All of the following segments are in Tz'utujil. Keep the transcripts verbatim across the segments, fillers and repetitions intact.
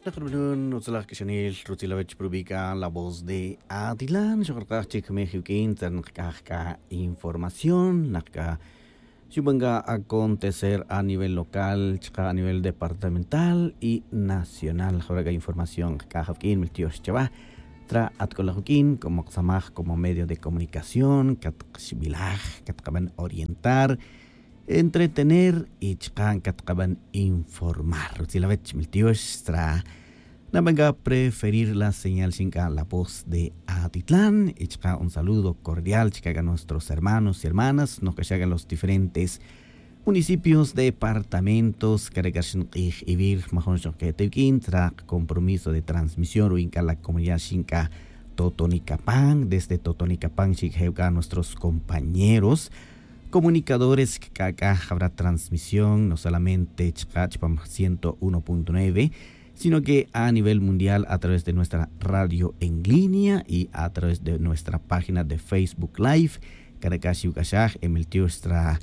Naqrub'anun utzalaj k'axanil rutzil awech prubi' k'a la voz de atilan xuqraqaj chik jumej iwk'in tzar naqk'aj k'a información naqk'a xub'an k'a acontecer a nivel local chaqa' a nivel departamental y nacional jawra' k'a información qk'aj awk'in miltiox chawa. Tra atk'olaj wk'in como qsamaj como medio de comunicación katqxb'ilaj katqab'an orientar, entretener y chaqa' katqab'an informar rutzil awech miltiox tra. Nab'an k'a preferir la señal xink'a la voz de atitlan y chaqa' un saludo cordial chaqa' k'a nuestros hermanos y hermanas nojk'axa' k'a los diferentes municipios departamentos kare' k'a xink'ij ivir majun xojk'ete wk'in tra compromiso de transmisión ru'in k'a la comunidad xink'a totoni kapan desde totoni kapan xik'je' wk'a nuestros compañeros comunicadores k'a k'a jawra transmisión no solamente chaqa' chpam ciento uno punto nueve, sino que a nivel mundial a través de nuestra radio en línea y a través de nuestra página de facebook live. Kare' k'a xiwk'axaj emiltiox tra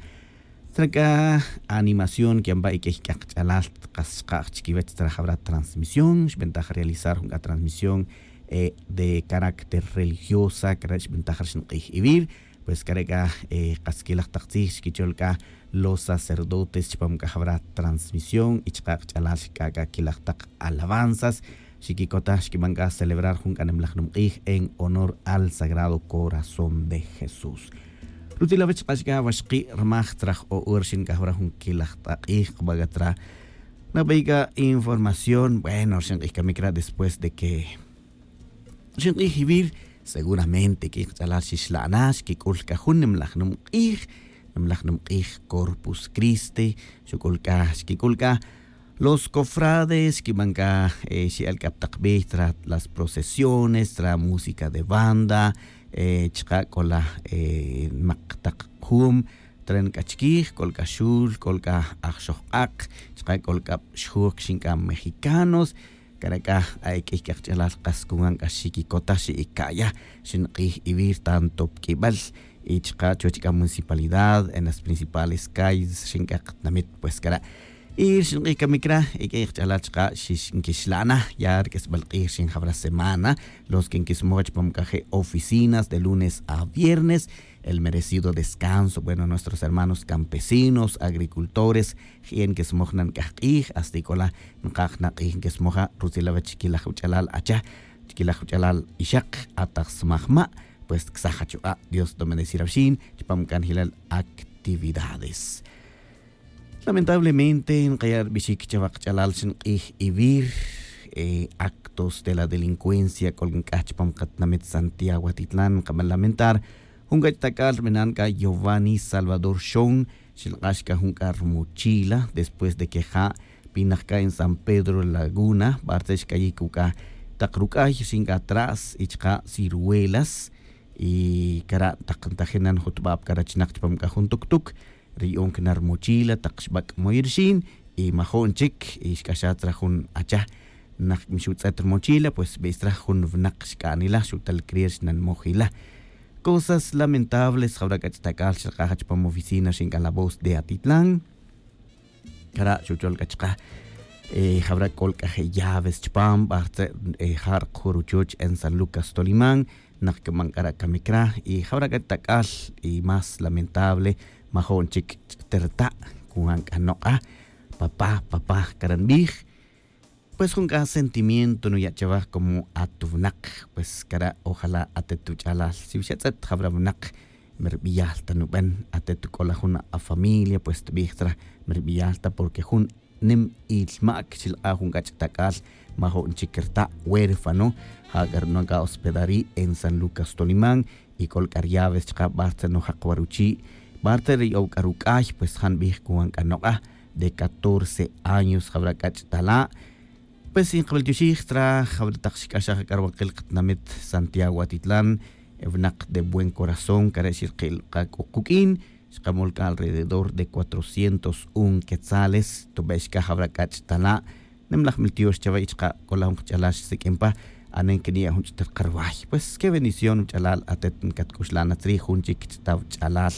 tra k'a animación ki'an pa' ik'ey k'aq ch'alal qas xqa'j chikiwech tra jawra transmisión xb'entaj realizar jun k'a transmisión de carácter religiosa kare' xb'entaj ri xinq'ij ivir. Pues kare' k'a qas kilaj taq tzij xkichol k'a los sacerdotes chpam k'a jawra transmisión y chaqa' qach'alal xk'a' k'a kilaj taq alabanzas xikikotaj xkib'an k'a celebrar jun k'a nimlaj nimq'ij en honor al sagrado corazón de jesús. Rutzil awech chaq'a' chk'a' waxqi' rmaj tzraj o'or xink'aj wara jun kilaj t'aq'ij qb'a' k'a tzra. Nab'ey k'a información bueno xink'ij kamik ra' después de que xink'ij ivir seguramente k'ij qach'alal xixla'na xkik'ul k'a jun nimlaj nimq'ij nimlaj nimq'ij corpus criste. Xuk'ul k'a xkik'ul k'a los cofrades xkib'an k'a xi'el k'a pa taq b'ey tra las procesiones tra música de banda chaqa' k'ola mak taq jum. Tren k'a chkij k'ol k'a xul k'ol k'a aj xojq'aq chaqa' k'ol k'a xjuj kixin k'a mexicanos. Kare' k'a a ik'ey k'a qach'alal qas kuwan k'a xikikotaj xi'ika'ya xinq'ij ivir tanto pa k'ib'al y chaqa' chuwech k'a municipalidad en las principales calles rixin k'a qatinamit pues kare'. Y rixin q'ij kamik ra' ik'ey qach'alal chaqa' xixnkixla'na ya rik'isb'al q'ij rixin jawra semana los que nkismoj chpam k'a je' oficinas de lunes a viernes el merecido descanso bueno nuestros hermanos campesinos agricultores. Ji'en nkismoj na nk'aj q'ij hasta ik'ola' nqaj na q'ij nkismoja rutzil awech chikilaj wach'alal acha chikilaj wach'alal ixaq ataj smajma'. Pues ksaj achuq'a' dios domendecir awxin chpam k'anjilal actividades. Lamentablemente nqaya' rib'ixik chawa qach'alal xink'ij ivir actos de la delincuencia k'ol nk'aj chpam qatinamit santiago atitlan nqab'an lamentar jun k'ach' tak'al rib'inan k'a giovanni salvador xon xilq'ax k'a jun k'a rmochila después de que ja' pinaj k'a en san pedro laguna b'artze' xk'ayiy k'u k'a taq ruk'ay rixin k'a tras y chaqa' ciruelas. Y kara' taq ntajin na njutb'ab' k'a rachnaq chpam k'a jun tuktuk ri yu'un kna rmochila taq xb'ak' moy rixin y majo'n chik y xk'axaj tzra jun acha naq mi xutz'et rmochila pues b'ey tzra jun winaq xk'anila xutal krier xnanmoj ila. Cosas lamentables jawra k'ach' tak'al xraqaj chpam oficina rixin k'a la voz de atitlan. Kara' xuchol k'a chaq'a' jawra' k'ol k'a je' llaves chpam b'aj tze' ja' rqju' ruchuch en san lucas tolimán. Naq kib'an k'a ra' kamik ra' y jawra' k'a tak'al y más lamentable majo'n chik ch'tirta' kuwan k'a noq'a. Papá papá kara' nb'ij. Pues jun k'a sentimiento nuya' chawaj como at winaq. Pues kara' ojalá atet wuch'alal si xatz'et jawra' winaq mi rb'iyal ta nub'en atet k'ola jun afamilia pues tb'ij tzra mi rb'iyal ta porque jun nim ilmak xilq'a jun k'ach' tak'al majo'n chik rta' huérfano. Ja' k'a rub'an k'a hospedarí en san lucas tolimán. Y k'ol k'a ryaves chqa' b'artze' nojaq wa ruchi' b'artze' ri yow k'a ruk'ay pues ja' nb'ij kuwan k'a noq'a de catorce años jawra' k'ach' tala'. Pues y nqb'al tyoxij tzra jawra' taq xk'axaj k'a rwaqil qatinamit santiago atitlan winaq de buen corazón kare' xirqil qa k'u quk'in xqamol k'a alrededor de cuatrocientos un quetzales tub'ex k'a jawra' k'ach' tala'. Nimlaj miltiox chawe' y chqa' k'ola jun qach'alal xsik'in pa anen kiniya' jun ch'tirqa rway pues ke bendición wuch'alal atet nkatk'uxla' na tzrij jun chik ch'ta' wuch'alal.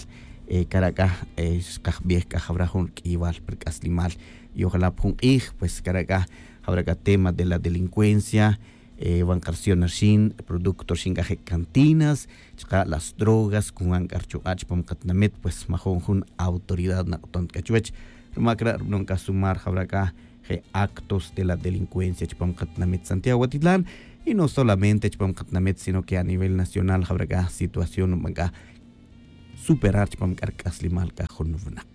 Kara' k'a xqajb'ej k'a jawra' jun rk'iywal pi rk'aslimal y ojalá pa jun q'ij pues kara' k'a jawara' c'a tema de la delincuencia, eh, wan c'a rsiyon rxin producto rxin c'a je' cantinas, chaka' las drogas cunwan c'a rchuq'a' chupam katinamit pues majun jun autoridad nak'uton c'a chuwech. Ruma c'a ra' rubanon c'a sumar jawara' c'a je' actos de la delincuencia chupam katinamit santiago watitlan, y no solamente chupam katinamit sino que a nivel nacional jawara' c'a situación rubanon c'a superar chupam c'a rc'aslimal c'a jun winak.